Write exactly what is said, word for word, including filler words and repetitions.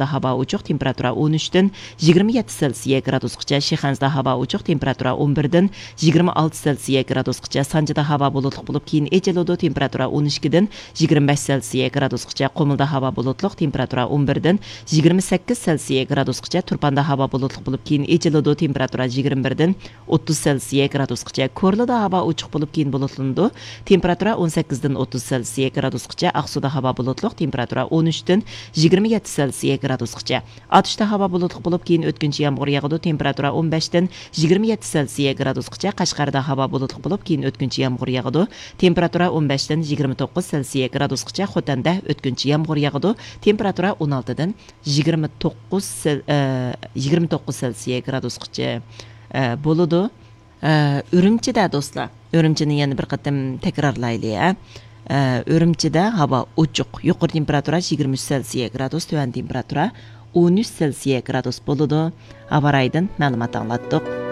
ھاۋا ئوچۇق، تېمپېراتۇرا ئون ئۈچتىن يىگىرمە يەتتە سېلسىيە گرادۇسقىچە، شىخەنزىدە ھاۋا ئوچۇق، تېمپېراتۇرا ئون بىردىن يىگىرمە ئالتە سېلسىيە گرادۇسقىچە، سانجىدا ھاۋا بۇلۇتلۇق بولۇپ، كېيىن ئېچىلىدۇ، تېمپېراتۇرا ئون ئىككىدىن يىگىرمە بەش سېلسىيە گرادۇسقىچە، قۇمۇلدا ھاۋا بۇلۇتلۇق، تېمپېراتۇرا ئون بىردىن يىگىرمە سەككىز سېلسىيە گرادۇسقىچە، تۇرپاندا ھاۋا بۇلۇتلۇق بولۇپ، كېيىن ئېچىلىدۇ، تېمپېراتۇرا يىگىرمە بىردىن ئوتتۇز سېلسىيە گرادۇسقىچە، كورلىدا ھاۋا ئوچۇق بولۇپ، كېيىن بۇلۇتلىنىدۇ، تېمپېراتۇرا ئون سەككىزدىن ئوتتۇز سېلسىيە گرادۇسقىچە، ئاقسۇدا ھاۋا بۇلۇتلۇق، تېمپېراتۇرا ئون ئۈچتىن يىگىرمە يەتتە سېلسىيە گرادۇسقىچە. ئاتۇشتا ھاۋا بۇلۇتلۇق بولۇپ، كېيىن ئۆتكۈنچى يامغۇر ياغىدۇ، تېمپېراتۇرا ئون بەشتىن يىگىرمە يەتتە سېلسىيە گرادۇسقىچە، قەشقەردە ھاۋا بۇلۇتلۇق بولۇپ، كېيىن ئۆتكۈنچى يامغۇر ياغىدۇ، تېمپېراتۇرا ئون بەشتىن يىگىرمە توققۇز سېلسىيە گرادۇسقىچە، خوتەندە ئۆتكۈنچى يامغۇر ياغىدۇ، تېمپېراتۇرا ئون ئالتىدىن يىگىرمە توققۇز سېل-، ئە، يىگىرمە توققۇز سېلسىيە گرادۇسقىچە، ئە، بولىدۇ. ئە، ئۈرۈمچىدە دوستلار، ئۈرۈمچىنى يەنە بىر قېتىم تەكرارلايلى، ئە. ئە، ئۈرۈمچىدە ھاۋا ئوچۇق، يۇقىرى تېمپېراتۇرا يىگىرمە ئۈچ سېلسىيە گرادۇس، تۆۋەن تېمپېراتۇرا ئون ئۈچ سېلسىيە گرادۇس بولىدۇ. ھاۋا رايىدىن مەلۇمات ئاڭلاتتۇق.